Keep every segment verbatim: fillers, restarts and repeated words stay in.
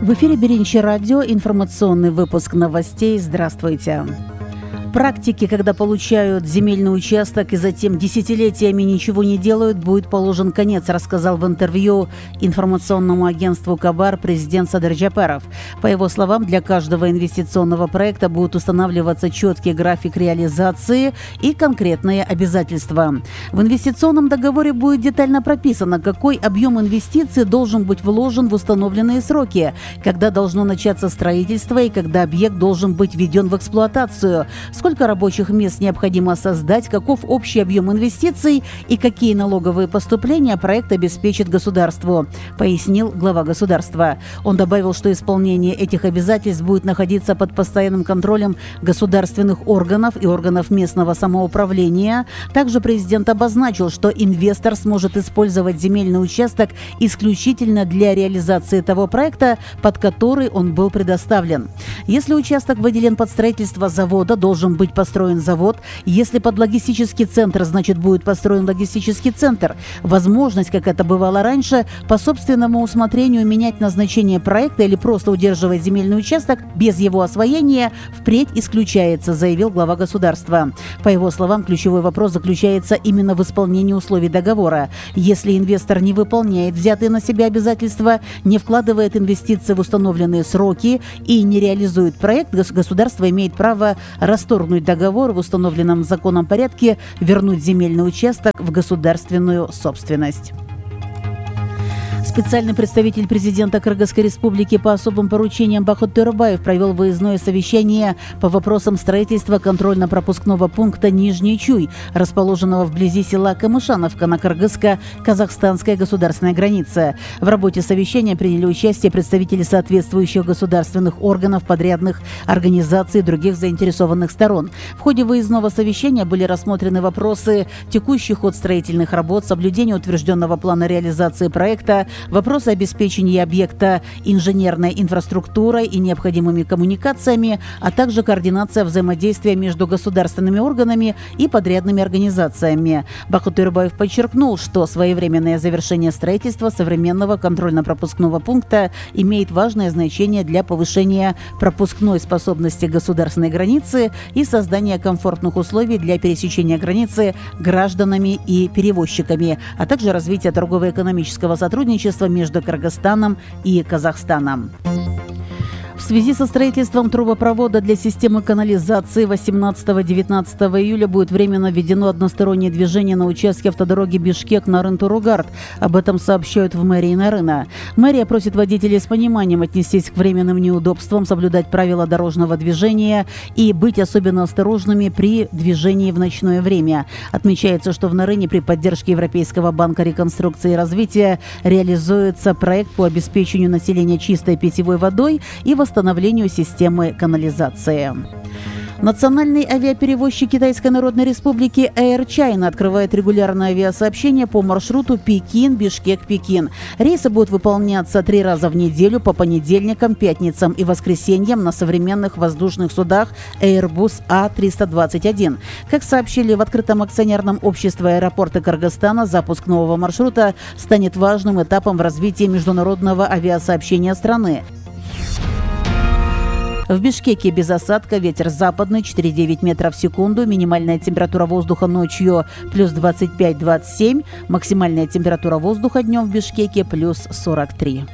В эфире Биринчи радио, информационный выпуск новостей. Здравствуйте. Практики, когда получают земельный участок и затем десятилетиями ничего не делают, будет положен конец, рассказал в интервью информационному агентству Кабар президент Садыр Джапаров. По его словам, для каждого инвестиционного проекта будет устанавливаться четкий график реализации и конкретные обязательства. В инвестиционном договоре будет детально прописано, какой объем инвестиций должен быть вложен в установленные сроки, когда должно начаться строительство и когда объект должен быть введен в эксплуатацию, сколько рабочих мест необходимо создать, каков общий объем инвестиций и какие налоговые поступления проект обеспечит государству, пояснил глава государства. Он добавил, что исполнение этих обязательств будет находиться под постоянным контролем государственных органов и органов местного самоуправления. Также президент обозначил, что инвестор сможет использовать земельный участок исключительно для реализации того проекта, под который он был предоставлен. Если участок выделен под строительство завода, должен быть построен завод. Если под логистический центр, значит, будет построен логистический центр. Возможность, как это бывало раньше, по собственному усмотрению менять назначение проекта или просто удерживать земельный участок без его освоения впредь исключается, заявил глава государства. По его словам, ключевой вопрос заключается именно в исполнении условий договора. Если инвестор не выполняет взятые на себя обязательства, не вкладывает инвестиции в установленные сроки и не реализует проект, государство имеет право расторгнуть договор в установленном законом порядке, вернуть земельный участок в государственную собственность. Специальный представитель президента Кыргызской республики по особым поручениям Бахыт Төрөбаев провел выездное совещание по вопросам строительства контрольно-пропускного пункта Нижний Чуй, расположенного вблизи села Камышановка на кыргызско-казахстанской государственной границе. В работе совещания приняли участие представители соответствующих государственных органов, подрядных организаций и других заинтересованных сторон. В ходе выездного совещания были рассмотрены вопросы: текущий ход строительных работ, соблюдение утвержденного плана реализации проекта, вопросы обеспечения объекта инженерной инфраструктурой и необходимыми коммуникациями, а также координация взаимодействия между государственными органами и подрядными организациями. Бахыт Төрөбаев подчеркнул, что своевременное завершение строительства современного контрольно-пропускного пункта имеет важное значение для повышения пропускной способности государственной границы и создания комфортных условий для пересечения границы гражданами и перевозчиками, а также развития торгово-экономического сотрудничества между Кыргызстаном и Казахстаном. В связи со строительством трубопровода для системы канализации восемнадцатого-девятнадцатого июля будет временно введено одностороннее движение на участке автодороги Бишкек-Нарын-Туругард. Об этом сообщают в мэрии Нарына. Мэрия просит водителей с пониманием отнестись к временным неудобствам, соблюдать правила дорожного движения и быть особенно осторожными при движении в ночное время. Отмечается, что в Нарыне при поддержке Европейского банка реконструкции и развития реализуется проект по обеспечению населения чистой питьевой водой и восстановлению восстановлению системы канализации. Национальный авиаперевозчик Китайской Народной Республики Air China открывает регулярное авиасообщение по маршруту Пекин-Бишкек-Пекин. Рейсы будут выполняться три раза в неделю по понедельникам, пятницам и воскресеньям на современных воздушных судах Airbus А триста двадцать один. Как сообщили в открытом акционерном обществе аэропорта Кыргызстана, запуск нового маршрута станет важным этапом в развитии международного авиасообщения страны. В Бишкеке без осадка, ветер западный четыре и девять метров в секунду, минимальная температура воздуха ночью плюс двадцать пять - двадцать семь, максимальная температура воздуха днем в Бишкеке плюс сорок три.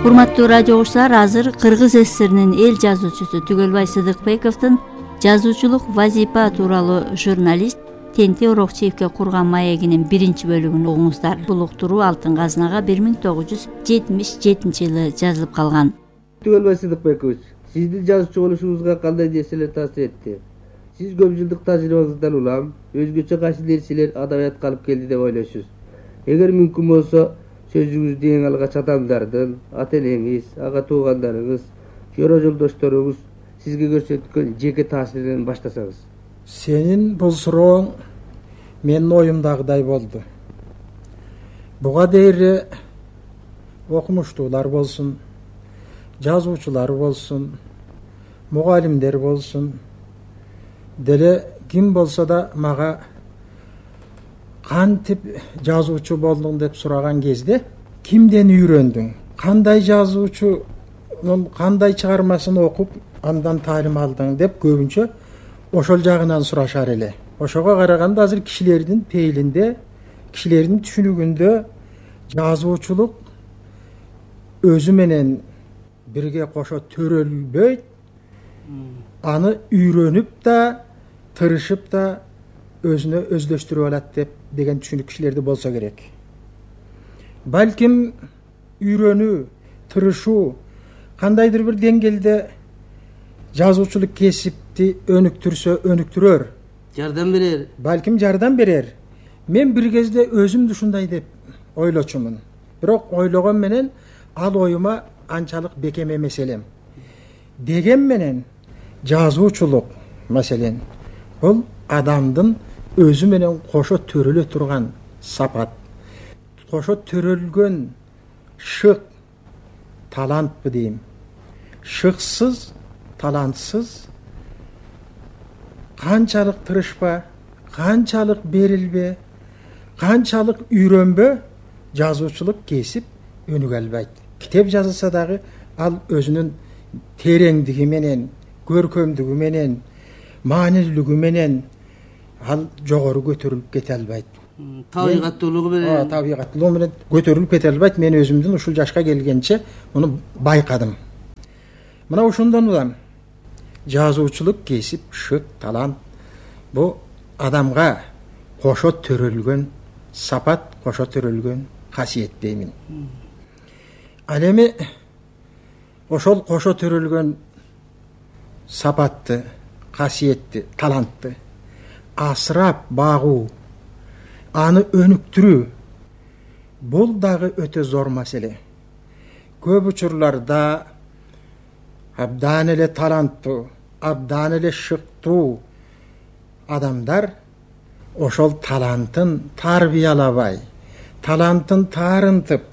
Урматтуу радио угуучулар, азыр Кыргыз ССРнин эл жазуучусу Түгөлбай Сыдыкбековдун жазуучулук вазипа тууралуу журналист Тенти Орокчиевке курган маегинин биринчи бөлүгүн угуңуздар. Бул уктуруу Алтын казнага бир миң тогуз жүз жетимиш жетинчи жылы жазылып калган. Түгөлбай Сыдыкбекович, сиздин жазуучу болушуңузга кандай нерселер таасир этти? Сиз көп жылдык тажрыйбаңыздан улам өзгөчө кайсы нерселер адабиятка алып келди деп ойлойсуз? Эгер мүмкүн болсо, сөзүңүздү эң алгач адамдардын, ата-энеңиз, ага туугандарыңыз, жора жолдошторуңуз сизге көрсөткөн жеке таасиринен баштасаңыз. Сенин бул сурооң менин оюмдагыдай болду. Буга дейин окумуштуулар болсун, жазуучулар болсун, мугалимдер болсун, деле ким болсо да мага кантип жазуучу болдуң деп сураган кезде кимден үйрөндүң, кандай жазуучунун кандай чыгармасын окуп андан таалим алдың деп көбүнчө ошол жагынан сурашар эле. Ошого караганда азыр кишилердин пейилинде, кишилердин түшүнүгүндө жазуучулук өзү менен бирге кошо төрөлбөйт, аны үйрөнүп да, тырышып да өзүнө өздөштүрүп алат деп деген түшүнүк кишилерде болсо керек. Балким үйрөнүү, тырышуу кандайдыр бир деңгээлде жазуучулук кесипти өнүктүрсө өнүктүрөр, жардам берер. Балким жардам берер. Мен бир кезде өзүм ушундай деп ойлочумун. Бирок ойлогон менен ал оюма анчалык бекем эмес элем. Деген менен жазуучулук маселен бул адамдын өзү менен кошо төрөлө турган сапат, кошо төрөлгөн шык талантпы дейм. Шыксыз, талантсыз канчалык тырышпа, канчалык берилбе, канчалык үйрөнбө жазуучулук кесип өнүгө албайт. Китеп жазылса дагы ал өзүнүн тереңдиги менен, көркөмдүгү менен, маанилүүлүгү менен ал жогору көтөрүлүп кете албайт. Табигаттуулугу менен. Табигаттуулугу менен көтөрүлүп кете албайт. Мен өзүмдүн ушул жашка келгенче муну байкадым. Мына ошондон улам жазуучулук кесип, шык, талант бу адамга кошо төрөлгөн сапат, кошо төрөлгөн касиет деймин. Ал эми ошол кошо төрөлгөн сапатты, касиетти, талантты асырап багуу, аны өнүктүрүү бул дагы өтө зор маселе. Көп учурларда абдан эле таланттуу, абдан эле шыктуу адамдар ошол талантын тарбиялабай, талантын таарынтып,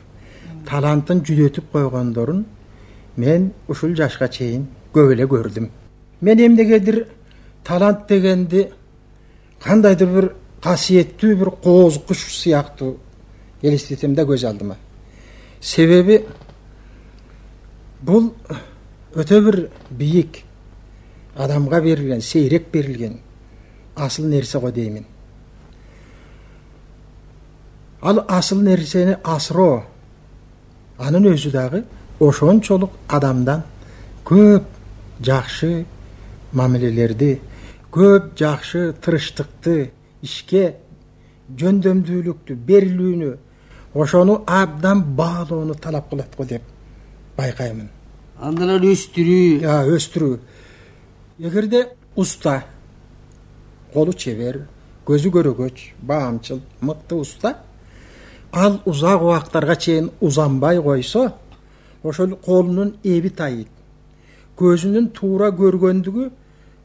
талантын жүдөтүп койгондорун мен ушул жашка чейин көп эле көрдүм. Мен эмнегедир талант дегенди кандайдыр бир касиеттүү бир кооз куш сыяктуу элестетем да көз алдыма. Себеби бул өтө бир бийик адамга берилген, сейрек берилген асыл нерсе го деймин. Ал асыл нерсени асыроо анын өзү дагы ошончолук адамдан көп жакшы мамилелерди, көп жакшы тырыштыкты, ишке жөндөмдүүлүктү, берилүүнү, ошону абдан баалоону талап кылат го деп байкаймын. Андан ары өстүрүү. Я, өстүрүү. Эгерде уста, колу чебер, көзү көрөгөч, баамчыл, мыкты уста, ал узак убактарга чейин узанбай койсо, ошол колунун эби тайыйт. Көзүнүн туура көргөндүгү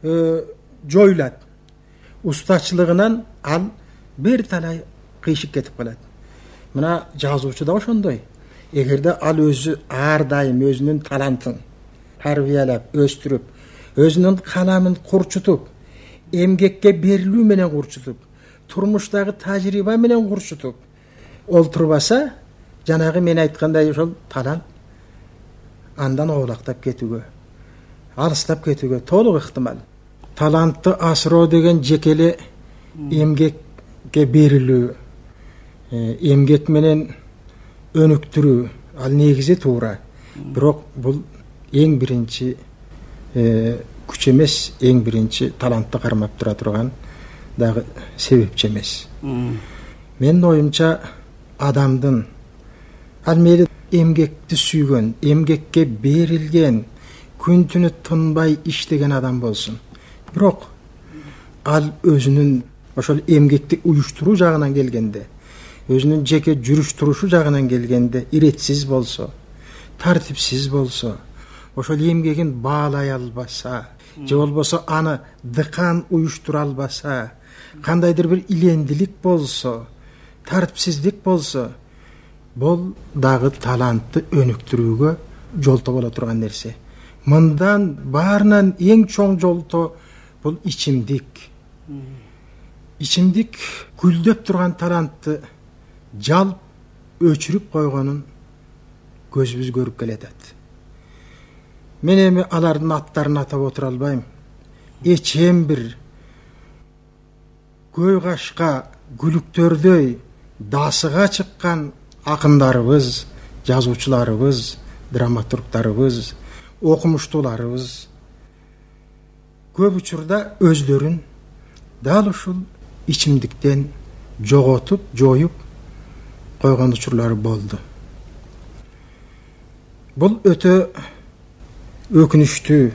э, жоюлат. Устачылыгынан ал бир талай кыйшык кетип калат. Мына жазуучу да ошондой. Эгерде ал өзү ар дайым өзүнүн талантын тарбиялап, өстүрүп, өзүнүн каламын курчутуп, эмгекке берилүү менен курчутуп, турмуштагы тажрыйба менен курчутуп олтурбаса, жанагы мен айткандай ошол талант андан оолактап кетүүгө, алыстап кетүүгө толук ыктымал. Талантты асыроо деген жекеле эмгекке берилүү, эмгек менен өнүктүрүү, ал негизи туура. Бирок бул эң биринчи күч эмес, эң биринчи талантты кармап тура турган дагы себепчи эмес. Менин оюмча адамдын ал мейли эмгекти сүйгөн, эмгекке берилген, күн түнү тынбай иштеген адам болсун. Бирок ал өзүнүн ошол эмгекти уюштуруу жагынан келгенде, өзүнүн жеке жүрүш турушу жагынан келгенде иретсиз болсо, тартипсиз болсо, ошол эмгегин баалай албаса, же болбосо аны дыкан уюштура албаса, кандайдыр бир илендилик болсо, тартипсиздик болсо, бул дагы талантты өнүктүрүүгө жолто боло турган нерсе. Мындан баарынан эң чоң жолто бул ичимдик, ичимдик гүлдөп турган талантты жалп өчүрүп койгонун көзүбүз көрүп келатат. Мен эми алардын аттарын атап отура албайм. Эчем бир көй кашка гүлүктөрдөй дасыга чыккан акындарыбыз, жазуучуларыбыз, драматургдарыбыз, окумуштууларыбыз көп учурда өздөрүн дал ушул ичимдиктен жоготуп, жоюп койгон учурлары болду. Бул өтө өкүнүчтүү,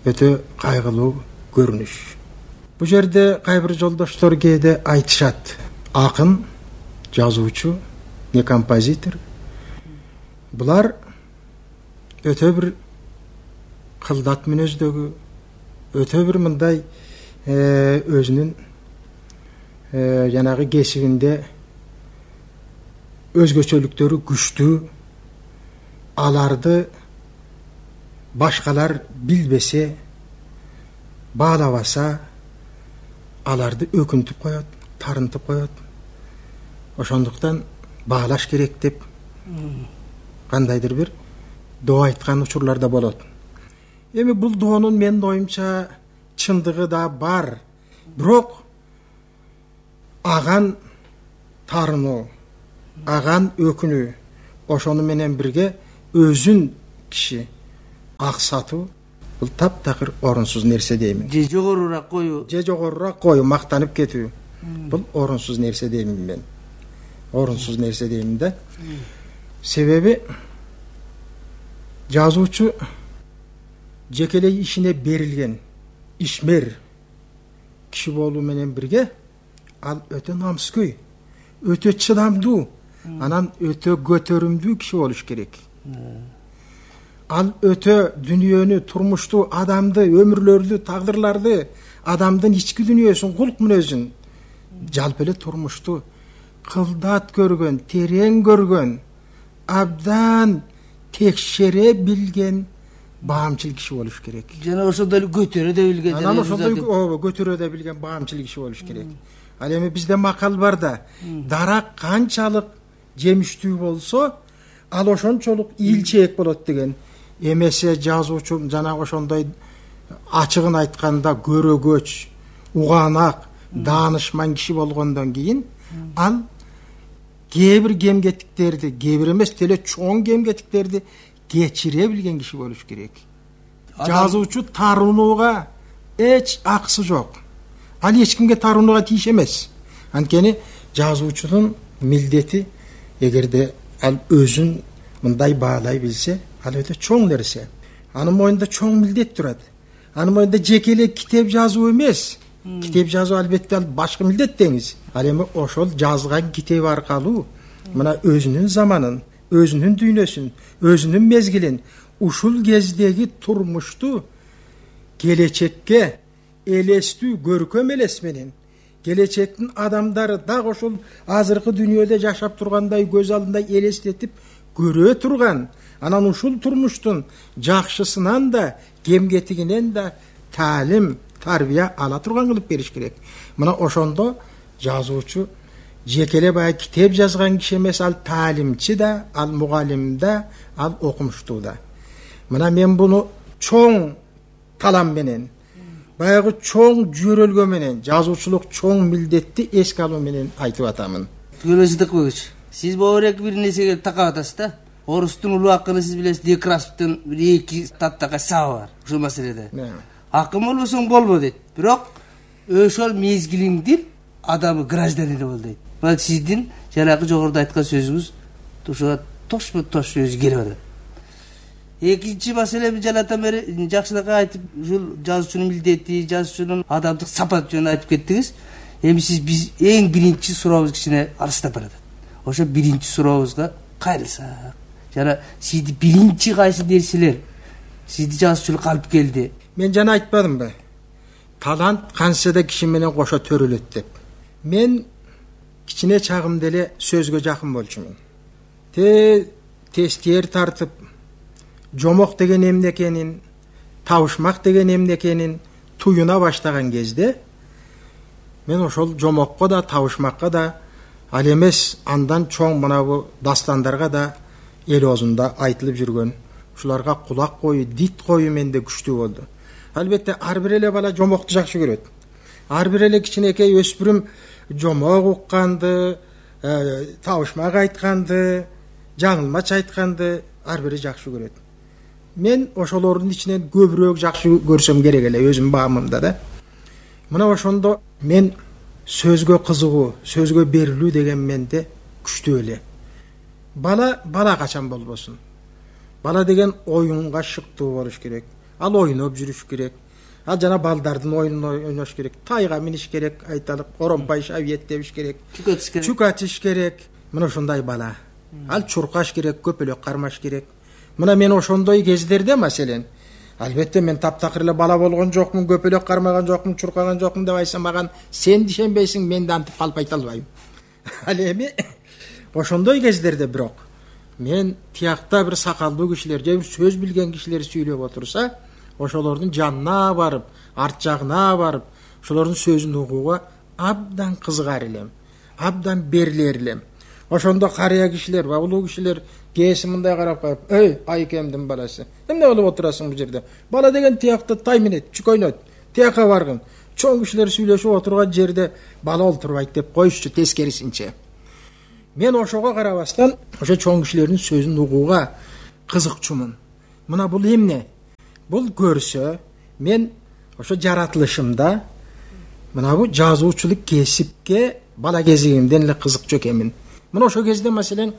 өтө кайгылуу көрүнүш. Бу жерде кайбир жолдоштор кээде айтышат: акын, жазуучу, не композитор. Булар өтө бир кылдат мүнөздөгү, өтө бир мындай өзүнүн жанагы кесибинде өзгөчөлүктөрү күчтүү, аларды башкалар билбесе, баалабаса, аларды өкүнтүп коет, тарынтып коет. Ошондуктан баалаш керек деп кандайдыр бир доо айткан учурлар да болот. Эми бул доонун менин оюмча чындыгы да бар. Бирок аган тарынуу, аган өкүнүү, ошону менен бирге өзүн киши аксатуу бул таптакыр орунсуз нерсе деймин. Же жогорураак коюу, же жогорураак коюу, мактанып кетүү. Бул орунсуз нерсе деймин мен. Орунсуз нерсе деймин да. Себеби жазуучу жекелей ишине берилген ишмер киши болуу менен бирге ал өтө намыскөй, өтө чыдамдуу, анан өтө көтөрүмдүү киши болуш керек. Ал өтө дүнүйөнү, турмушту, адамды, өмүрлөрдү, тагдырларды, адамдын ички дүнүйөсүн, кулк мүнөзүн, жалпы эле турмушту кылдат көргөн, терең көргөн, абдан текшере билген баамчыл киши болуш керек. Жана ошондой эле көтөрө да билген, жана ошондой көтөрө да билген баамчыл киши болуш керек. Ал эми бизде макал бар да: дарак канчалык жемиштүү болсо, ал ошончолук ийилчээк болот деген. Эмесе жазуучу жана ошондой ачыгын айтканда көрөгөч, угаанак, даанышман киши болгондон кийин ал кээ бир кемгеттиктерди, кээ бир эмес деле чоң кемгеттиктерди кечире билген киши болуш керек. Жазуучу тарынууга эч акысы жок. Ал эч кимге тарынууга тийиш эмес. Анткени жазуучунун милдети, эгерде ал өзүн мындай баалай билсе, ал өтө чоң нерсе. Анын моюнда чоң милдет турат. Анын моюнда жеке эле китеп жазуу эмес. Китеп жазуу албетте ал башкы милдет деңиз. Ал эми ошол жазган китеби аркылуу мына өзүнүн заманын, өзүнүн дүйнөсүн, өзүнүн мезгилин, ушул кездеги турмушту келечекке элестүү, көркөм элес менен, келечектин адамдары дагы ошол азыркы дүйнөдө жашап тургандай көз алдында элестетип көрө турган, анан ушул турмуштун жакшысынан да, кемгетигинен да таалим, тарбия ала турган кылып бериш керек. Мына ошондо жазуучу жекеле баягы китеп жазган киши эмес, ал таалимчи да, ал мугалим да, ал окумуштуу да. Мына мен буну чоң талам менен, баягы чоң жөрөлгө менен, жазуучулук чоң милдетти эске алуу менен айтып атамын. Түгөлбай Сыдыкбекович, сиз боборек бир нерсеге такап атасыз да. Орустун улуу акыны сиз билесиз, Некрасовдун бир эки таптагай сабы бар ушул маселеде. Акын болбосоң болбо дейт. Бирок ошол мезгилиңдин адамы, гражданине бол дейт. Мына сиздин жанагы жогоруда айткан сөзүңүз ошого тошмо-тош өзү келип атат. Экинчи маселени жанатан бери жакшынакай айтып, ушул жазуучунун милдети, жазуучунун адамдык сапаты жөнүндө айтып кеттиңиз. Эми сиз биз эң биринчи сурообуз кичине алыстап баратат. Ошо биринчи сурообузга кайрылсак. Жана сизди биринчи кайсы нерселер сизди жазуучулукка алып келди? Мен жана айтпадымбы? Талант канча да киши менен кошо төрөлөт деп. Мен кичине чагымда эле сөзгө жакын болчумун. Те тестер тартып, жомок деген эмне экенин, табышмак деген эмне экенин туюна баштаган кезде мен ошол жомокко да, табышмакка да, ал эмес андан чоң мынабу дастандарга да эл оозунда айтылып жүргөн, ушуларга кулак коюу, дит коюу менде күчтүү болду. Албетте ар бир эле бала жомокту жакшы көрөт. Ар бир эле кичинекей өспүрүм жомок укканды, табышмак айтканды, жаңылмач айтканды ар бири жакшы көрөт. Мен ошолордун ичинен көбүрөөк жакшы көрсөм керек эле өзүм баамымда да. Мына ошондо мен сөзгө кызыгуу, сөзгө берилүү деген менде күчтүү эле. Бала бала качан болбосун. Бала деген оюнга шыктуу болуш керек. Ал ойноп жүрүш керек. Ал жана балдардын оюнун ойнош керек. Тайга миниш керек, айталык, оромпай шабиет дебиш керек. Чүк атыш керек. Мына ошондой бала. Ал чуркаш керек, көпөлөк кармаш керек. Мына мен ошондой кездерде маселен, албетте мен таптакыр эле бала болгон жокмун, көпөлөк кармаган жокмун, чуркаган жокмун деп айтсам маган сен дишенбейсиң, мен да антип калып айта албайм. Ал эми ошондой кездерде бирок мен тиякта бир сакалдуу кишилер же бир сөз билген кишилер сүйлөп отурса, ошолордун жанына барып, арт жагына барып, ошолордун сөзүн угууга абдан кызыгар элем, абдан берилер элем. Ошондо карыя кишилер, улуу кишилер кээси мындай карап коюп, "Эй, айкемдин баласы, эмне болуп отурасың бул жерде? Бала деген тиякта тай минет, чүк ойнойт, тияка баргын." Чоң кишилер сүйлөшүп отурган жерде бала олтурбайт деп коюшчу, тескерисинче. Мен ошого карабастан, ошо чоң кишилердин сөзүн угууга кызыкчумун. Мына бул эмне? Бул көрсө, мен ошо жаратылышымда мына бу жазуучулук кесипке бала кезигимден эле кызыкчу экенмин. Мына ошол кезде маселен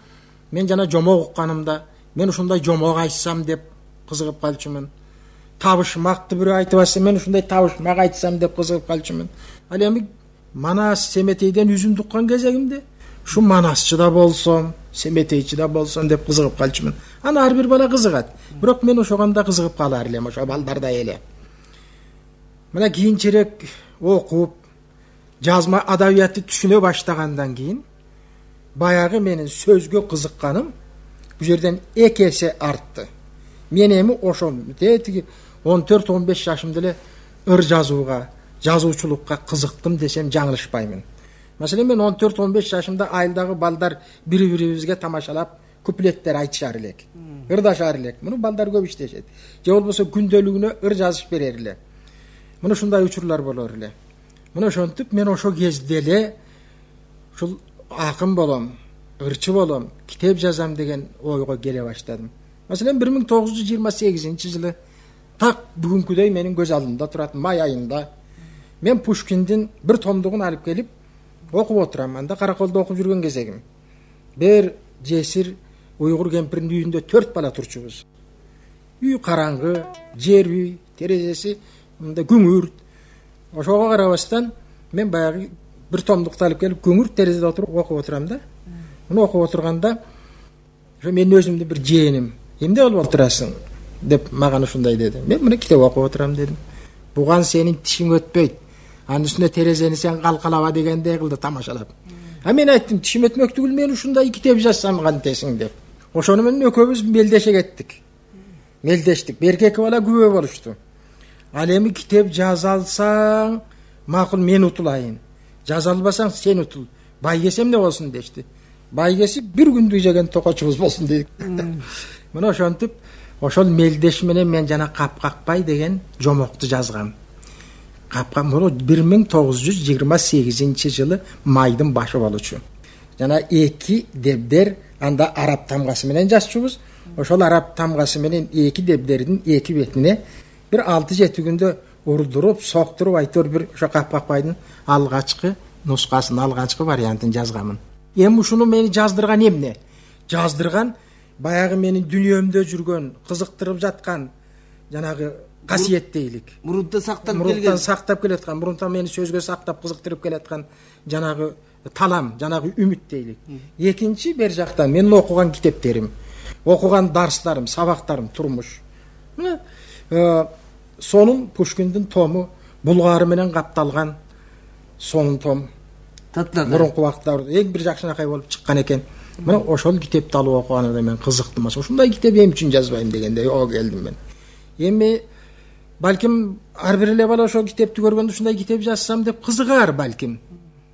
мен жана жомок укканымда, мен ушундай жомок айтсам деп кызыгып калчумун. Табышмакты бирөө айтып атса, мен ушундай табышмак айтсам деп кызыгып калчумун. Ал эми Манас Семетейден үзүндү уккан кезегимде ушу манасчы да болсом, семетейчи да болсом деп кызыгып калчумун. Аны ар бир бала кызыгат. Бирок мен ошоганда кызыгып калар элем, ошо балдардай эле. Мына кийинчерээк окуп, жазма адабиятты түшүнө баштагандан кийин баягы менин сөзгө кызыкканым бул жерден эки эсе артты. Мен эми ошол тетиги он төрт он беш жашымда эле ыр жазууга, жазуучулукка кызыктым десем жаңылышпаймын. Маселен мен он төрт он беш жашымда айылдагы балдар бири-бирибизге тамашалап куплеттер айтышар элек. Ырдашар элек. Муну балдар көп иштешет. Же болбосо күндөлүгүнө ыр жазып берер эле. Муну ушундай учурлар болор эле. Муну ошентип мен ошо кезде эле ушул акын болом, ырчы болом, китеп жазам деген ойго келе баштадым. Маселен бир миң тогуз жүз жыйырма сегизинчи жылы так бүгүнкүдөй менин көз алдымда турат, май айында мен Пушкиндин бир томдугун алып келип окуп отурам. Анда Караколдо окуп жүргөн кезегим. Бир жесир уйгур кемпирдин үйүндө төрт бала турчубуз. Үй караңгы, жер үй, терезеси мында күңүрт. Ошого карабастан мен баягы бир томдукту алып келип күңүрт терезеде отуруп окуп отурам да. Муну окуп отурганда ошо мен өзүмдүн бир жээним, "Эмне болуп отурасың?" деп мага ушундай деди. Мен мына китеп окуп отурам дедим. "Буган сенин тишиң өтпөйт. Анын үстүнө терезени сен калкалаба" дегендей кылды тамашалап. А мен айттым, "Тишим өтмөк түгүл, мен ушундай китеп жазсам кантесиң" деп. Ошону менен экөөбүз мелдеше кеттик. Мелдештик. Берки эки бала күбө болушту. Ал эми китеп жаза алсаң, макул мен утулайын. Жаза албасаң сен утул. Байгес эмне болсун дешти. Байгеси бир күндүк жеген токочубуз болсун дедик. Мына ошентип, ошол мелдеш менен мен жана Капкакбай деген жомокту жазгам. Капкак бул бир миң тогуз жүз жыйырма сегизинчи жылы майдын башы болчу. Жана эки дебдер анда араб тамгасы менен жазчубуз. Ошол араб тамгасы менен эки дебдердин эки бетине бир алты жети күндө урдуруп, соктуруп айтор бир ошо Капкакбайдын алгачкы нускасын, алгачкы вариантын жазгамын. Эми ушуну мени жаздырган эмне? Жаздырган баягы менин дүнүйөмдө жүргөн, кызыктырып жаткан жанагы касиет дейлик. Мурунтан сактап келген. Мурунтан сактап келаткан, мурунтан мени сөзгө сактап кызыктырып келаткан жанагы талам, жанагы үмүт дейлик. Экинчи бер жактан менин окуган китептерим, окуган дарстарым, сабактарым, турмуш. Мына сонун Пушкиндин тому булгары менен капталган сонун том. Мурунку убакыттарда эң бир жакшынакай болуп чыккан экен. Мына ошол китепти алып окуганда мен кызыктым. Ошондой китеп эм үчүн жазбайм дегендей ого келдим мен. Эми балким ар бир эле бала ошол китепти көргөндө ушундай китеп жазсам деп кызыгар балким.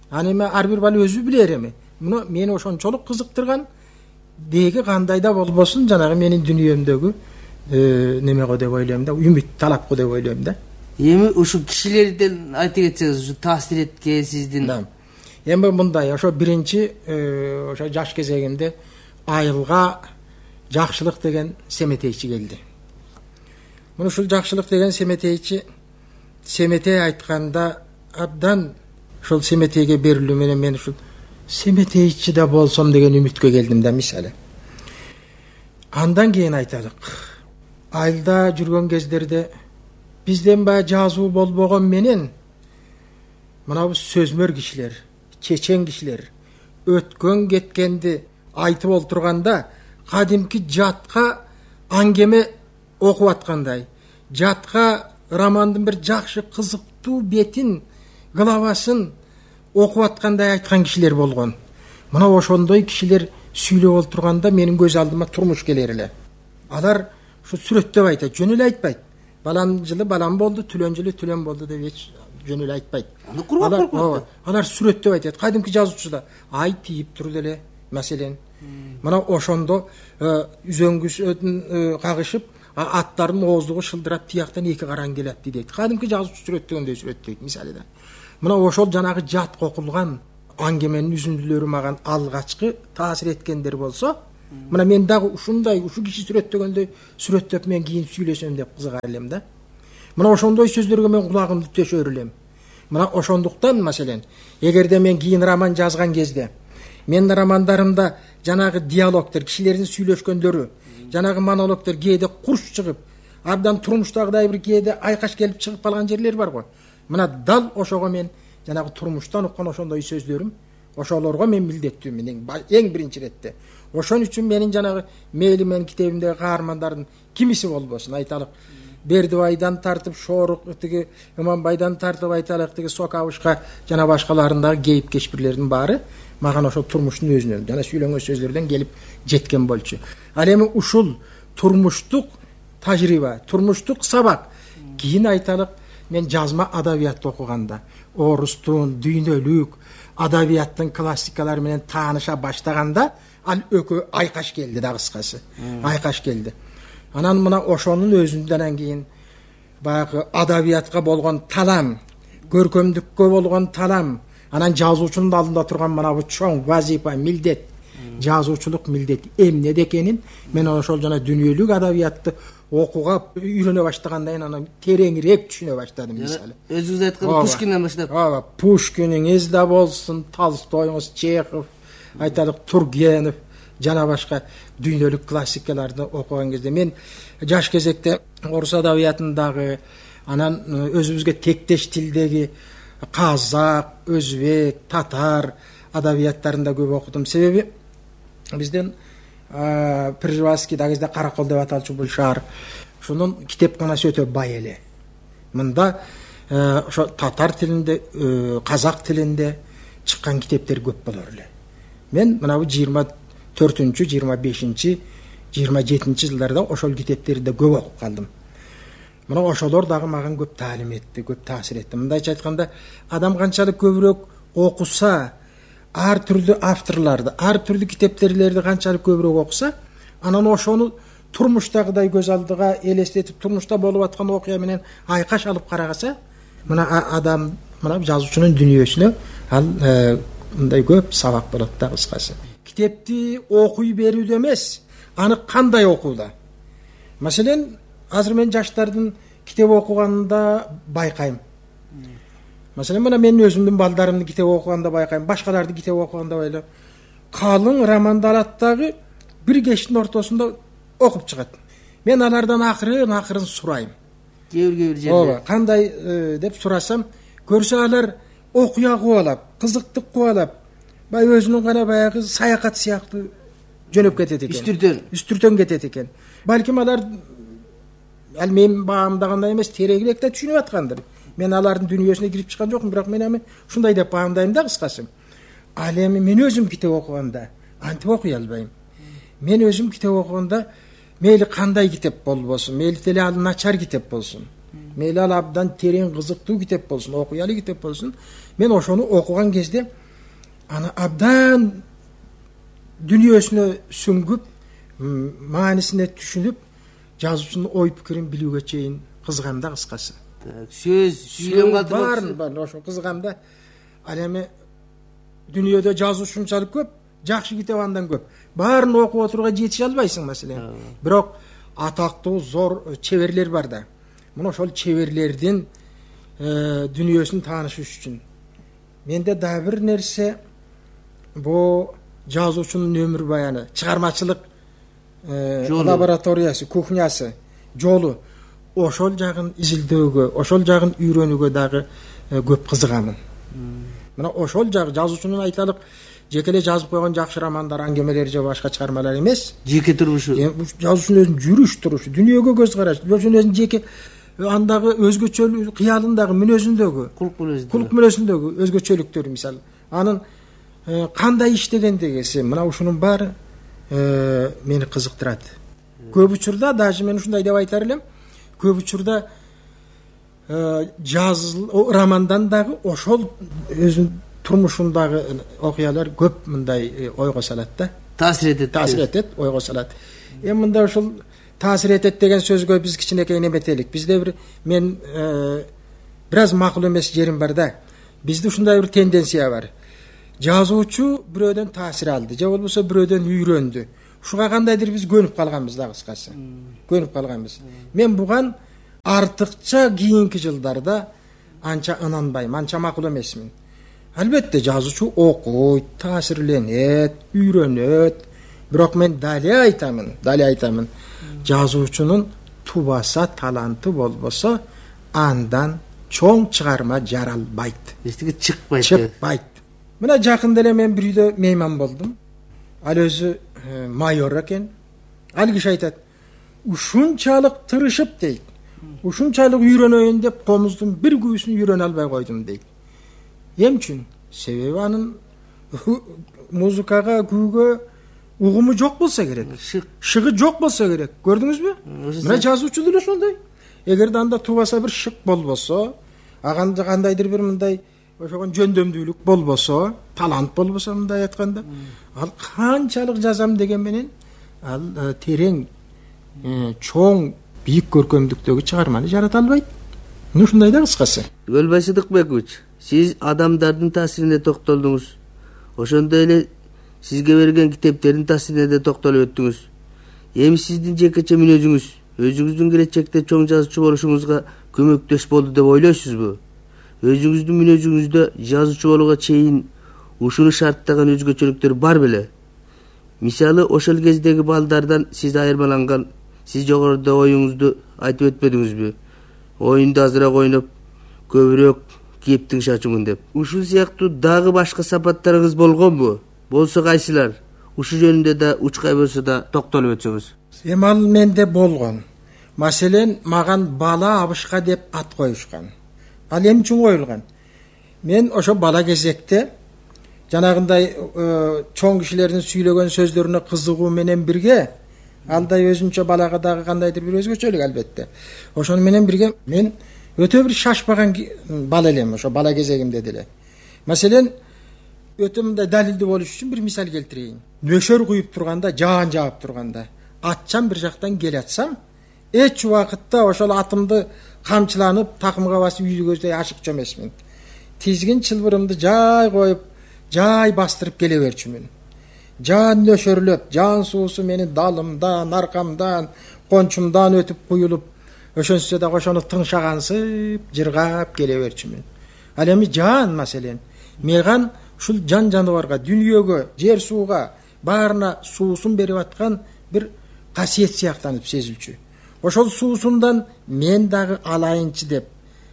Аны эми ар бир бала өзү билер эми. Муну мени ошончолук кызыктырган деги кандай да болбосун жанагы менин дүнүйөмдөгү немего деп ойлойм да, үмүт талапкы деп ойлойм да. Эми ушу кишилерден айта кетсеңиз, ушу таасир эткен сиздин. Эми мындай, ошо биринчи ошо жаш кезегимде айылга жакшылык деген семетейчи келди. Муну ушул жакшылык деген семетейчи семетей айтканда абдан ушул семетейге берилүү менен мен ушул семетейчи да болсом деген үмүткө келдим да мисалы. Андан кийин айталык. Айылда жүргөн кездерде бизден баягы жазуу болбогон менен мынабу сөзмөр кишилер, чечен кишилер өткөн кеткенди айтып олтурганда кадимки жатка аңгеме окуп аткандай, жатка романдын бир жакшы кызыктуу бетин, главасын окуп аткандай айткан кишилер болгон. Мына ошондой кишилер сүйлөп олтурганда менин көз алдыма турмуш келер эле. Алар ушу сүрөттөп айтат, жөн эле айтпайт. Балан жылы балан болду, түлөн жылы түлөн болду деп эч жөн эле айтпайт. Аны кургак коркот. Алар сүрөттөп айтат. Кадимки жазуучуда ай тийип турду эле, маселен. Мына ошондо үзөңгүсүн кагышып, аттардын ооздугу шылдырап тияктан эки караң келатты дейт. Кадимки жазуучу сүрөттөгөндөй сүрөттөйт мисалы да. Мына ошол жанагы жат окулган аңгеменин үзүндүлөрү мага алгачкы таасир эткендер болсо, мына мен дагы ушундай, ушу киши сүрөттөгөндөй сүрөттөп мен кийин сүйлөсөм деп кызыгар элем да. Мына ошондой сөздөргө мен кулагымды төшөр элем. Мына ошондуктан маселен, эгерде мен кийин роман жазган кезде, менин романдарымда жанагы диалогтор, кишилердин сүйлөшкөндөрү, жанагы монологтор кээде курч чыгып, абдан турмуштагыдай бир кээде айкаш келип чыгып калган жерлер бар го. Мына дал ошого мен жанагы турмуштан уккан ошондой сөздөрүм, ошолорго мен милдеттүүмүн эң биринчи иретте. Ошон үчүн менин жанагы мейли менин китебимдеги каармандардын кимиси болбосун, айталык Бердибайдан тартып Шорук, тиги Иманбайдан тартып айталык тиги Сокабышка жана башкаларындагы кейип кешпирлердин баары мага ошол турмуштун өзүнөн жана сүйлөнгөн сөздөрдөн келип жеткен болчу. Ал эми ушул турмуштук тажрыйба, турмуштук сабак кийин айталык мен жазма адабиятты окуганда, орустун, дүйнөлүк адабияттын классикалары менен тааныша баштаганда ал өкө айкаш келди да, кыскасы. Айкаш келди. Анан мына ошонун өзүнөн кийин баягы адабиятка болгон талам, көркөмдүккө болгон талам, анан жазуучунун алдында турган мына бу чоң вазифа, милдет, жазуучулук милдет эмне экенин мен ошол жана дүнүйөлүк адабиятты окууга үйрөнө баштагандан кийин анан тереңирээк түшүнө баштадым мисалы. Өзүңүз айткан Пушкинден баштап. Ооба, Пушкиниңиз да болсун, Толстойуңуз, Чехов, айталык Тургенев жана башка дүйнөлүк классикаларды окуган кезде мен жаш кезекте орус адабиятындагы, анан өзүбүзгө тектеш тилдеги казак, өзбек, татар адабияттарында көп окудум. Себеби бизден Пржевальский да кезде Каракол деп аталчу бул шаар, ошонун китепканасы өтө бай эле. Мында ошо татар тилинде, казак тилинде чыккан китептер көп болор эле. Мен мына бу жыйырма төртүнчү, жыйырма бешинчи, жыйырма жетинчи жылдарда ошол китептерди да көп окуп калдым. Мына ошолор дагы мага көп таалим этти, көп таасир этти. Мындайча айтканда, адам канчалык көбүрөөк окуса, ар түрдүү авторларды, ар түрдүү китептерди канчалык көбүрөөк окуса, анан ошону турмуштагыдай көз алдыга элестетип, турмушта болуп аткан окуя менен айкаш алып карагаса, мына адам, мына жазуучунун дүнүйөсүнө ал мындай көп сабак болот да, кыскасы. Китепти окуй берүүдө эмес, аны кандай окууда. Маселен, азыр мен жаштардын китеп окуганында байкайм. Маселен, мына мен өзүмдүн балдарымдын китеп окуганда байкайм, башкалардын китеп окуганда байлы. Калың романды алат дагы бир кештин ортосунда окуп чыгат. Мен алардан акырын акырын сурайм. Кээ-бир жерде. Ооба, кандай деп сурасам, көрсө алар окуя кубалап, кызыктык кубалап, бай өзүнүн гана баягы саякат сыяктуу жөнөп кетет экен. Үстүртөн. Үстүртөн кетет экен. Балким алар ал мен баамдагандай эмес, тереңирээк да түшүнүп аткандыр. Мен алардын дүнүйөсүнө кирип чыккан жокмун, бирок мен эми ушундай деп баамдайм да, кыскасы. Ал эми мен өзүм китеп окуганда антип окуй албайм. Мен өзүм китеп окуганда мейли кандай китеп болбосун, мейли деле ал начар китеп болсун, мейли ал абдан терең кызыктуу китеп болсун, окуялы китеп болсун, мен ошону окуган кезде аны абдан дүнүйөсүнө сүңгүп, маанисине түшүнүп, жазуучунун ой пикирин билүүгө чейин кызыгам да, кыскасы. Сөз, сүйлөм калтырып баарын ошо кызыгам да. Ал эми дүнүйөдө жазуучу ушунчалык көп, жакшы китеп андан көп. Баарын окуп отурууга жетише албайсың маселен. Бирок атактуу зор чеберлер бар да. Мына ошол чеберлердин дүнүйөсүн таанышыш үчүн менде дагы бир нерсе, бул жазуучунун өмүр баяны, чыгармачылык лабораториясы, кухнясы, жолу, ошол жагын изилдөөгө, ошол жагын үйрөнүүгө дагы көп кызыгамын. Мына ошол жагы жазуучунун айталык жеке эле жазып койгон жакшы романдар, аңгемелер же башка чыгармалар эмес. Жеке турмушу. Жазуучунун өзүнүн жүрүш турушу, дүнүйөгө көз карашы, өзүнүн жеке андагы өзгөчөлүк кыялындагы, мүнөзүндөгү, кулк мүнөзүндөгү, кулк мүнөзүндөгү өзгөчөлүктөр, мисалы, анын кандай иштегендиги, мына ушунун баары мени кызыктырат. Көп учурда даже мен ушундай деп айтар элем, көп учурда жазыл романдан дагы ошол өзүнүн турмушундагы окуялар көп мындай ойго салат да. Таасир этет. Таасир этет, ойго салат. Эми мында ошол таасир этет деген сөзгө биз кичинекей неметелик. Бизде бир мен бир аз макул эмес жерим бар да. Бизде ушундай бир тенденция бар. Жазуучу бирөөдөн таасир алды, же болбосо бирөөдөн үйрөндү. Ушуга кандайдыр биз көнүп калганбыз да, кыскасы. Көнүп калганбыз. Мен буган артыкча кийинки жылдарда анча ынанбайм, анча макул эмесмин. Албетте жазуучу окуйт, таасирленет, үйрөнөт. Бирок мен дале айтамын, дале айтамын. Жазуучунун тубаса, таланты болбосо, андан чоң чыгарма жаралбайт. Эстеге чыкпайт. Чыкпайт. Мына жакында эле мен бир үйдө мейман болдум. Ал өзү майор экен. Ал киши айтат: "Ушунчалык тырышып" дейт. "Ушунчалык үйрөнөйүн деп комуздун бир күбүсүн үйрөнө албай койдум" дейт. Эм үчүн? Себеби анын музыкага, күүгө угуму жок болсо керек. Шыгы жок болсо керек. Көрдүңүзбү? Мына жазуучу деле ошондой. Эгерде анда тубаса бир шык болбосо, аганда кандайдыр бир мындай ошогон жөндөмдүүлүк болбосо, талант болбосо, мындай айтканда, ал канчалык жазам деген менен ал терең, чоң, бийик көркөмдүктөгү чыгарманы жарата албайт. Мына ушундай да, кыскасы. Өлбай Сыдыкбекович, сиз адамдардын таасирине токтолдуңуз. Ошондой эле сизге берген китептердин таасирине да токтолуп өттүңүз. Эми сиздин жекече мүнөзүңүз өзүңүздүн келечекте чоң жазуучу болушуңузга көмөктөш болду деп ойлойсузбу? Өзүңүздүн мүнөзүңүздө жазуучу болууга чейин ушуну шарттаган өзгөчөлүктөр бар беле? Мисалы, ошол кездеги балдардан сиз айырмаланган, сиз жогоруда оюңузду айтып өтпөдүңүзбү? Оюнду азыраак ойноп, көбүрөөк кептиң шачумун деп. Ушул сыяктуу дагы башка сапаттарыңыз болгонбу? Болсо кайсылар? Ушу жөнүндө да учкай болсо да токтолуп өтсөңүз. Эми ал менде болгон. Маселен, маган бала абышка деп ат коюшкан. Ал эмне үчүн коюлган? Мен ошо бала кезекте жанагындай чоң кишилердин сүйлөгөн сөздөрүнө кызыгуу менен бирге, алдай өзүнчө балага дагы кандайдыр бир өзгөчөлүк албетте. Ошону менен бирге мен өтө бир шашпаган бала элем, ошо бала кезегимде деле. Маселен, өтө мындай далилдүү болуш үчүн бир мисал келтирейин. Нөшөр куюп турганда, жаан жаап турганда, атчан бир жактан келатсам, эч убакытта ошол атымды камчыланып, такымга басып үйдүгөздөй ашыкчу эмесмин. Тизгин чылбырымды жай коюп, жай бастырып келе берчүмүн. Жаан нөшөрлөп, жаан суусу менин далымдан, аркамдан, кончумдан өтүп куюлуп, ошонсо да ошону тыңшагансып, жыргап келе берчүмүн. Ал эми жаан маселен, меган ушул жан жаныбарга, дүнүйөгө, жер сууга баарына суусун берип аткан бир касиет сыяктанып сезилчү. Ошол суусундан мен дагы алайынчы деп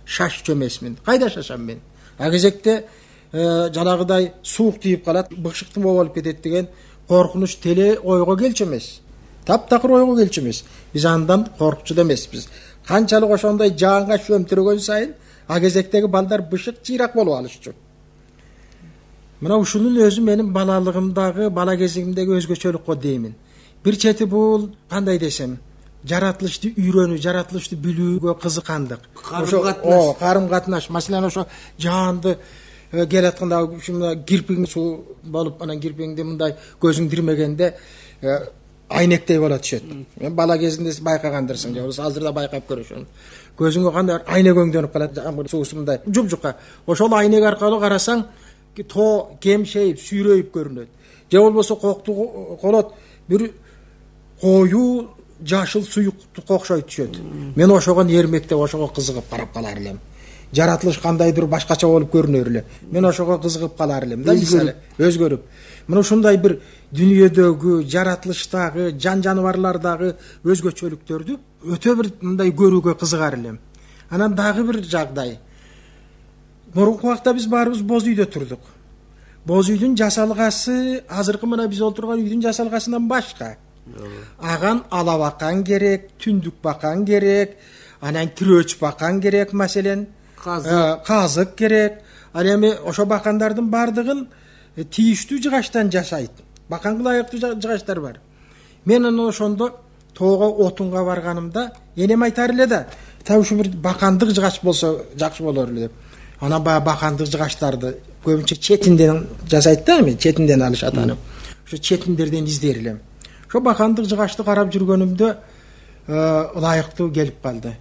шашчу эмесмин. Кайда шашам мен? А кезекте жанагыдай суук тийип калат, быкшыктым болуп кетет деген коркунуч теле ойго келчү эмес. Таптакыр ойго келчү эмес. Биз андан коркчу да эмеспиз. Канчалык ошондой жаанга шөмтүрөгөн сайын, а кезектеги балдар бышык чыйрак болуп алышчу. Мына ушунун өзү менин балалыгымдагы, бала кезигимдеги өзгөчөлүк го деймин. Бир чети бул кандай десем, жаратылышты үйрөнүү, жаратылышты билүүгө кызыккандык. Карым катнаш. Карым катнаш. Маселен ошо жаанды келатканда ушундай кирпиң суу болуп, анан кирпиңди мындай көзүң кирмегенде айнектей болот түшөт. Мен бала кезинде байкагандырсың, же болбосо азыр да байкап көрөшөм. Көзүңө кандай айнек өңдөнүп калат, жамгыр суусу мындай жуп-жука. Ошол айнек аркылуу карасаң, тоо кемшейип, сүйрөйүп көрүнөт. Же болбосо кокту колот, бир коюу жашыл суюктукка окшойт түшөт. Мен ошого эрмектеп, ошого кызыгып карап калар элем. Жаратылыш кандайдыр башкача болуп көрүнөр эле. Мен ошого кызыгып калар элем да, мисалы, өзгөрүп. Мына ушундай бир дүйнөдөгү, жаратылыштагы, жан жаныбарлардагы өзгөчөлүктөрдү өтө бир мындай көрүүгө кызыгар элем. Анан дагы бир жагдай. Мурунку убакта биз баарыбыз боз үйдө турдук. Боз үйдүн жасалгасы азыркы мына биз отурган үйдүн жасалгасынан башка. Аган ала бакан керек, түндүк бакан керек, анан кирөөч бакан керек, маселен казык, казык керек. Ал эми ошо бакандардын бардыгын тийиштүү жыгачтан жашайт. Баканга ылайыктуу жыгачтар бар. Мен анан ошондо тоого отунга барганымда энем айтар эле да, та ушу бир бакандык жыгач болсо жакшы болор эле деп. Анан баягы бакандык жыгачтарды көбүнчө четинден жасайт да, эми четинден алышат аны. Ошо четиндерден издер элем. Ошо бакандык жыгачты карап жүргөнүмдө ылайыктуу келип калды.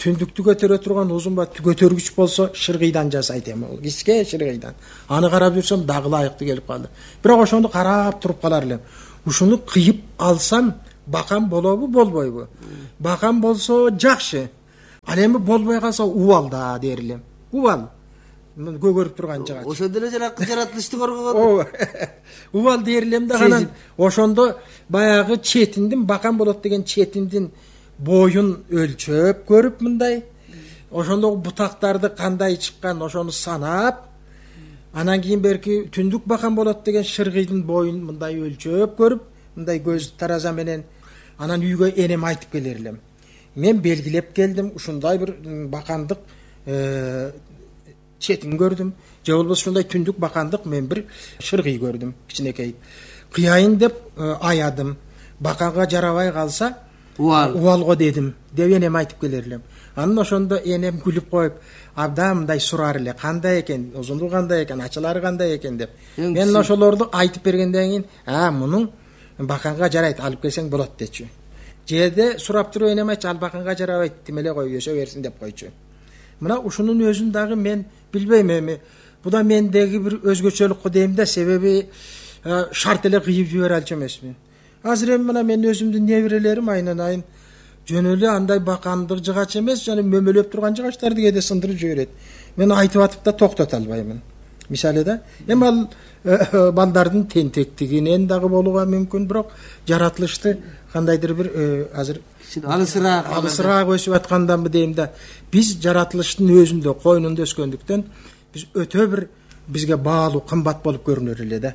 Түндүктү көтөрө турган узун ба көтөргүч болсо шыргыйдан жасайт эми, ол кичке шыргыйдан. Аны карап жүрсөм дагы ылайыктуу келип калды. Бирок ошону карап туруп калар элем. Ушуну кыйып алсам бакан болобу, болбойбу? Бакан болсо жакшы. Ал эми болбой калса убал да дер элем. Убал. Көгөрүп турган жыгач. Ошондо эле жаратылышты коргогон. Убал дер элем да, анан ошондо баягы четиндин бакан болот деген четиндин боюн өлчөп көрүп мындай, ошондогу бутактарды кандай чыккан ошону санап, анан кийин берки түндүк бакан болот деген шыргыйдын боюн мындай өлчөп көрүп, мындай көз тараза менен, анан үйгө энем айтып келер элем. Мен белгилеп келдим, ушундай бир бакандык четин көрдүм. Же болбосо ушундай түндүк бакандык мен бир шыргый көрдүм, кичинекей. Кыяйын деп аядым. Баканга жарабай калса Уал. Уалго дедим, деп энем айтып келер элем. Анан ошондо энем күлүп коюп, абдан мындай сурар эле, кандай экен, узундугу кандай экен, ачалары кандай экен деп. Мен ошолорду айтып бергенден кийин, а, мунун баканга жарайт, алып келсең болот дечү. Жерде сурап туруп энем айтчу, ал баканга жарабайт, тим эле кой, өсө берсин деп койчу. Мына ушунун өзүн дагы мен билбейм эми. Бу да мендеги бир өзгөчөлүк дейм да, себеби шарт эле кыйып жибере алчу эмесмин. Азыр эми мына мен өзүмдүн неберелерим айынан айын жөн эле андай бакандык жыгач эмес, жана мөмөлөп турган жыгачтарды кээде сындырып жиберет. Мен айтып атып да токтото албаймын. Мисалы да, эми ал балдардын тентектигинен дагы болууга мүмкүн, бирок жаратылышты кандайдыр бир азыр алысыраак алысыраак өсүп атканданбы дейм да. Биз жаратылыштын өзүндө, койнунда өскөндүктөн биз өтө бир бизге баалуу, кымбат болуп көрүнөр эле да.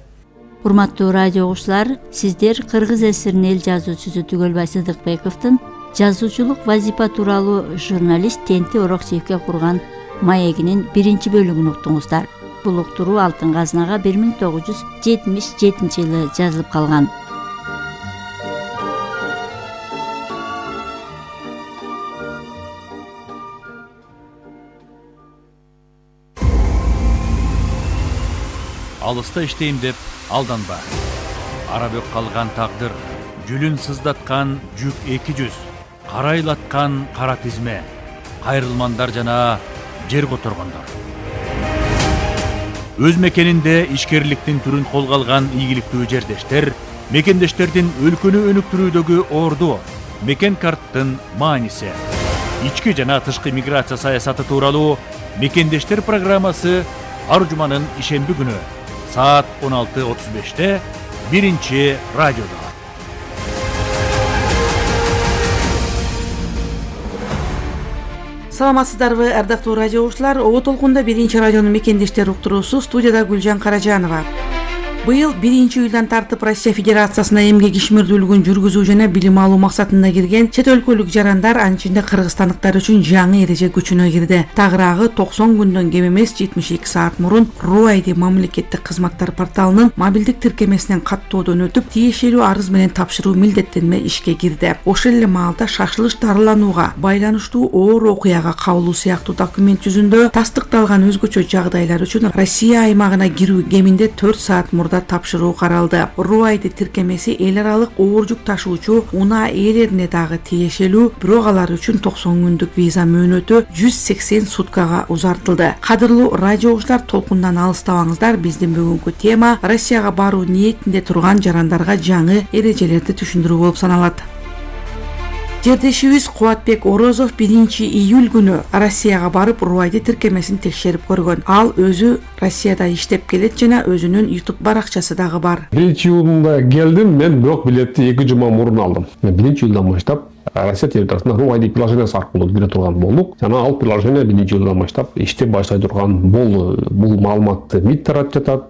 Урматтуу радио угуучулар, сиздер Кыргыз ССРнин эл жазуучусу Түгөлбай Сыдыкбековдун жазуучулук вазипа тууралуу журналист Тенти Орокчиевке курган маегинин биринчи бөлүгүн уктуңуздар. Бул уктуруу Алтын казнага бир миң тогуз жүз жетимиш жетинчи жылы жазылып калган. Алыста иштейм деп алданба. Ара бөк калган тагдыр, жүлүн сыздаткан жүк эки жүз, карайлаткан кара тизме, кайрылмандар жана жер которгондор. Өз мекенинде ишкерликтин түрүн колго алган ийгиликтүү жердештер, мекендештердин өлкөнү өнүктүрүүдөгү орду, мекен карттын мааниси, ички жана тышкы миграция саясаты тууралуу мекендештер программасы ар жуманын ишемби күнү саат он алты отуз беште биринчи радиодо. Саламатсыздарбы, ардактуу радио угуучулар? Ого толкунда биринчи радионун мекендештер уктуруусу, студияда Гүлжан Каражанова. Быйыл биринчи июлдан тартып Россия Федерациясына эмгек ишмердүүлүгүн жүргүзүү жана билим алуу максатында кирген чет өлкөлүк жарандар, анын ичинде кыргызстандыктар үчүн жаңы эреже күчүнө кирди. Тагыраагы токсон күндөн кем эмес жетимиш эки саат мурун РУАЙДИ мамлекеттик кызматтар порталынын мобилдик тиркемесинен каттоодон өтүп, тиешелүү арыз менен тапшыруу милдеттенме ишке кирди. Ошол эле маалда шашылыш дарыланууга байланыштуу оор окуяга кабылуу сыяктуу документ жүзүндө тастыкталган өзгөчө жагдайлар үчүн Россия аймагына кирүү кеминде төрт саат мурда тапшыруу каралды. РУАЙДИ тиркемеси эл аралык оор жүк ташуучу унаа ээлерине дагы тиешелүү, бирок алар үчүн токсон күндүк виза мөөнөтү жүз сексен суткага узартылды. Кадырлуу радио угуучулар, толкундан алыстабаңыздар. Биздин бүгүнкү тема Россияга баруу ниетинде турган жарандарга жаңы эрежелерди түшүндүрүү болуп саналат. Жердешибиз Кубатбек Орозов биринчи июль күнү Россияга барып РУАЙДИ тиркемесин текшерип көргөн. Ал өзү Россияда иштеп келет жана өзүнүн YouTube баракчасы дагы бар. биринчи июлда келдим мен, бирок билетти эки жума мурун алдым. Мен биринчи июлдан баштап Россия территориясына РУАЙДИ приложениясы аркылуу кире турган болдук. Жана ал приложение биринчи июлдан баштап иштеп башлай турган болду. Бул маалыматты МИД таратып жатат,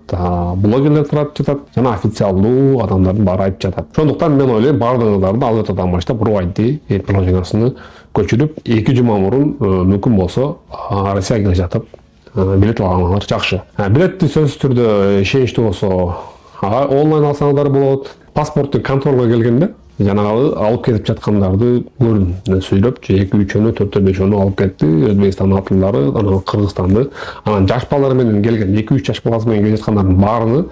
блогерлер таратып жатат, жана официалдуу адамдардын баары айтып жатат. Ошондуктан мен ойлойм, бардыгыңыздарды ал ертодон баштап РУАЙДИ приложениясыны көчүрүп, эки жума мурун мүмкүн болсо Россияга келе жатып билет алганыңар жакшы. Билетти сөзсүз түрдө ишеничтүү болсо онлайн алсаңыздар болот. Паспорттун контролго келгенде жанагы алып кетип жаткандарды көрдүм. Сүйлөп, эки үчөнү, төртөө бешөөнү алып кетти. Өзбекстан атылары, анан Кыргызстанды, анан жаш балдар менен келген, эки үч жаш баласы менен келе жаткандардын баарыны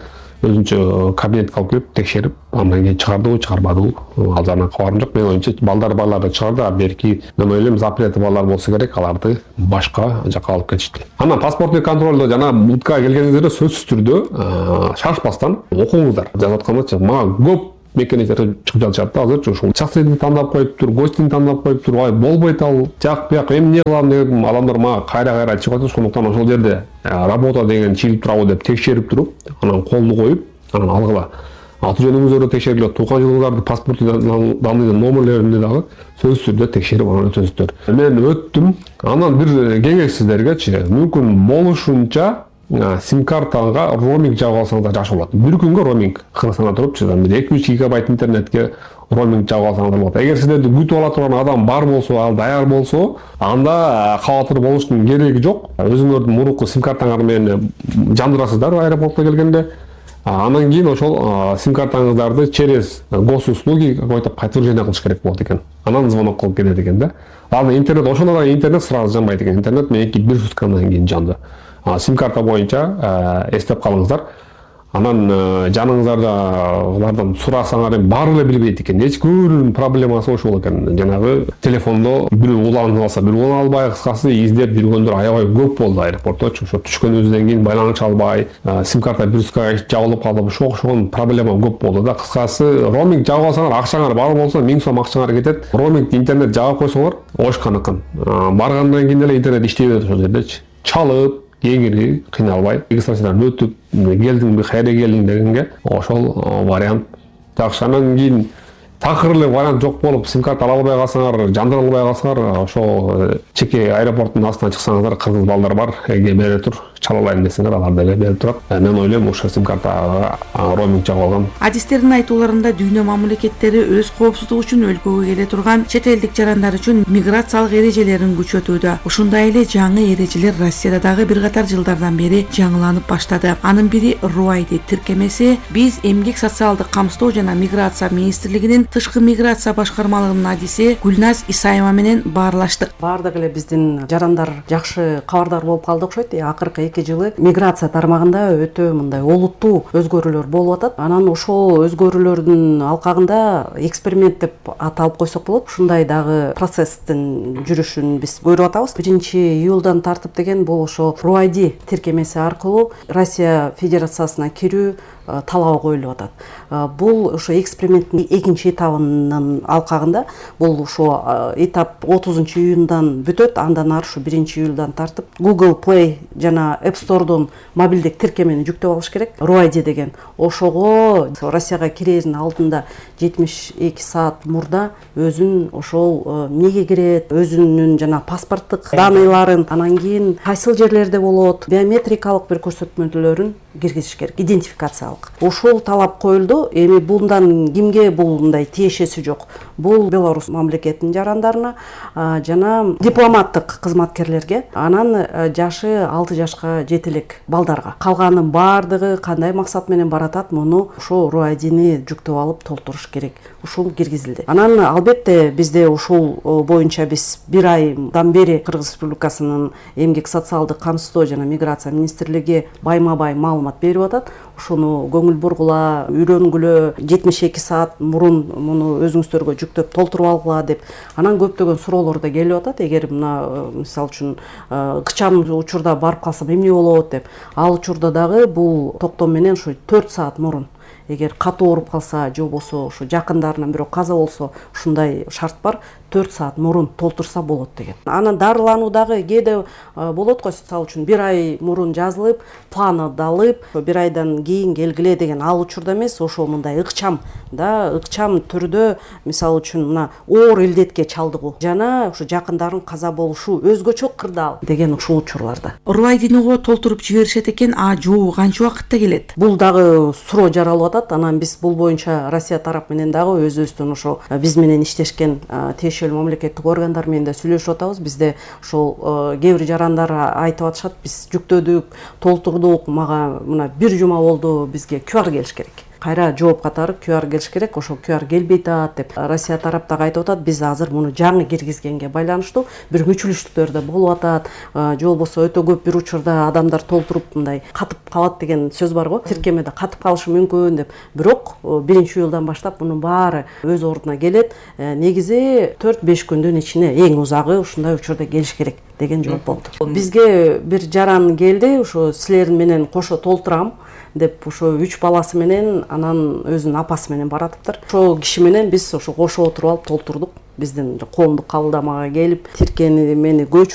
өзүнчө кабинетке алып келип текшерип, андан кийин чыгардыбы, чыгарбадыбы, ал жагына кабарым жок. Мен оюмча балдар барларды чыгарды, а берки мен ойлойм запрети балдар болсо керек, аларды башка жака алып кетишти. Анан паспорттук контролдо жана МУДка келгениңиздерде сөзсүз түрдө шашпастан окуңуздар. Жазып аткандачы мага көп мекенжер чыгып жатышат. Азырчы ушул шахсыйды тандап коюптур, гостин тандап коюптур, ай болбойт ал, жак бияк эмне кылам дегем, адамдар мага кайра-кайра чыгып атат. Ошондуктан ошол жерде работа деген чыгып турабы деп текшерип туруп, анан колду коюп, анан алгыла. Аты жөнүңүздөрдү текшергиле, тууган жылыңыздарды, паспорттун данныйдын номерлерин дагы сөзсүз түрдө текшерип анан өтөсүздөр. Мен өттүм. Анан бир кеңеш сиздергечи, мүмкүн болушунча сим-картага роуминг жабып алсаңыздар жакшы болот. Бир күнгө роуминг Кыргызстанда туруп, эки үч гигабайт интернетке роуминг жабып алсаңыздар болот. Эгер сиздерди күтүп ала турган адам бар болсо, ал даяр болсо, анда кабатыр болуштун кереги жок. Өзүңөрдүн мурунку сим-картаңар менен жандырасыздар аэропортко келгенде. Анан кийин ошол сим-картаңыздарды через госуслуги какой-то подтверждение кылыш керек болот экен. Анан звонок кылып келет экен да. Анан интернет, ошондо да интернет сразу жанбайт экен. Интернет меники бир суткадан кийин жанды. Сим-карта боюнча эстеп калыңыздар. Анан жаныңыздарда алардан сурасаңар баары эле билбейт экен. Эчкүүнүн проблемасы ошол экен. Жанагы телефондо бирөө уланып алса, бирөө улана албай, кыскасы издеп жүргөндөр аябай көп болду аэропортто. Ошо түшкөнүбүздөн кийин байланыш албай, сим-карта бир суткага жабылып калып, ошо ошол проблема көп болду да. Кыскасы роуминг жабып алсаңар, акчаңар бар болсо миң сом акчаңар кетет. Роуминг интернет жабып койсоңор, ошканыкын. Баргандан кийин эле интернет иштей берет ошол жердечи. Чалып кеңири кыйналбай регистрациядан өтүп келдиңби, кайра келдиң дегенге ошол вариант жакшы. Анан кийин такыр эле вариант жок болуп сим-карта ала албай калсаңар, жандыра албай калсаңар, ошо чеке аэропорттун астынан чыксаңыздар, кыргыз балдар бар, эге бере тур, чала алайын десеңер, алар деле берип турат. Мен ойлойм, ошо сим-карта роуминг жабып алган. Адистердин айтууларында дүйнө мамлекеттери өз коопсуздугу үчүн өлкөгө келе турган чет элдик жарандар үчүн миграциялык эрежелерин күчөтүүдө. Ушундай эле жаңы эрежелер Россияда дагы бир катар жылдардан бери жаңыланып баштады. Анын бири РУАЙДИ тиркемеси. Биз Эмгек социалдык камсыздоо жана миграция министрлигинин тышкы миграция башкармалыгынын адиси Гүлназ Исаева менен баарлаштык. Баардык эле биздин жарандар жакшы кабардар болуп калды окшойт. Акыркы эки жылы миграция тармагында өтө мындай олуттуу өзгөрүүлөр болуп атат. Анан ошол өзгөрүүлөрдүн алкагында эксперимент деп аталып койсок болот. Ушундай дагы процесстин жүрүшүн биз көрүп атабыз. биринчи июлдан тартып деген бул ошо РУАЙДИ тиркемеси аркылуу Россия Федерациясына кирүү талабы коюлуп атат. Бул ошо эксперименттин экинчи этабынын алкагында бул ушу этап отузунчу июндан бүтөт. Андан ары ушу биринчи июлдан тартып Google Play жана App Store'дон мобилдик тиркемени жүктөп алыш керек. Руайди деген. Ошого Россияга кирердин алдында жетимиш эки саат мурда өзүн ошол эмнеге кирет, өзүнүн жана паспорттук даныйларын, анан кийин кайсыл жерлерде болот, биометрикалык бир көрсөтмөлөрүн киргизиш керек, идентификациялык. Ошол талап коюлду. Эми bundan кимге булундай тиешеси жок. Бул Беларусь мамлекетинин жарандарына жана дипломаттык кызматкерлерге, анан жашы алты жашка жете элек балдарга. Калганын баардыгы кандай максат менен баратат, муну ошо руайдини жүктөп алып толтуруш керек. Ушул киргизилди. Анан албетте бизде ушул боюнча биз бир айдан бери Кыргыз Республикасынын эмгек социалдык камсыздоо жана миграция министрлиги байма-бай маалымат берип атат. Ушуну көңүл бургула, үйрөнгүлө, жетимиш эки саат мурун муну өзүңүздөргө жүктөп толтуруп алгыла деп. Анан көптөгөн суроолор да келип атат. Эгер мына мисалы үчүн кычам учурда барып калсам эмне болот деп. Ал учурда дагы бул токтом менен ушу төрт саат мурун, эгер катуу ооруп калса же болбосо ушу жакындарынан бирөө каза болсо, ушундай шарт бар, төрт саат мурун толтурса болот деген. Анан дарылануу дагы кээде болот го, мисалы үчүн бир ай мурун жазылып, планы далып, бир айдан кийин келгиле деген. Ал учурда эмес, ошо мындай ыкчам да, ыкчам түрдө, мисалы үчүн мына оор илдетке чалдыгуу жана ушу жакындарын каза болушу өзгөчө кырдаал деген ушул учурларда. Руайдиниго толтуруп жиберишет экен, а жоо канча убакытта келет? Бул дагы суроо жаралып атат. Анан биз бул боюнча Россия тарап менен дагы өзүбүздүн ошо биз менен иштешкен тиешелүү мамлекеттик органдар менен да сүйлөшүп атабыз. Бизде ошол кээ бир жарандар айтып атышат, биз жүктөдүк, толтурдук, мага мына бир жума болду, бизге ку ар келиш керек. Кайра жооп катары ку ар келиш керек, ошол ку ар келбей атат деп Россия тараптагы айтып атат. Биз азыр муну жаңы киргизгенге байланыштуу бир мүчүлүштүктөр да болуп атат. Же болбосо өтө көп бир учурда адамдар толтуруп мындай катып калат деген сөз бар го. Тиркемеде катып калышы мүмкүн деп. Бирок биринчи июлдан баштап мунун баары өз ордуна келет. Негизи төрт беш күндүн ичинде, эң узагы ушундай учурда келиш керек деген жооп болду. Бизге бир жаран келди, ушу силер менен кошо толтурам деп, ошо үч баласы менен, анан өзүнүн апасы менен баратыптыр. Ошо киши менен биз ошо кошо отуруп алып толтурдук. Биздин коомдук кабылдамага келип, тиркемени көчүрүп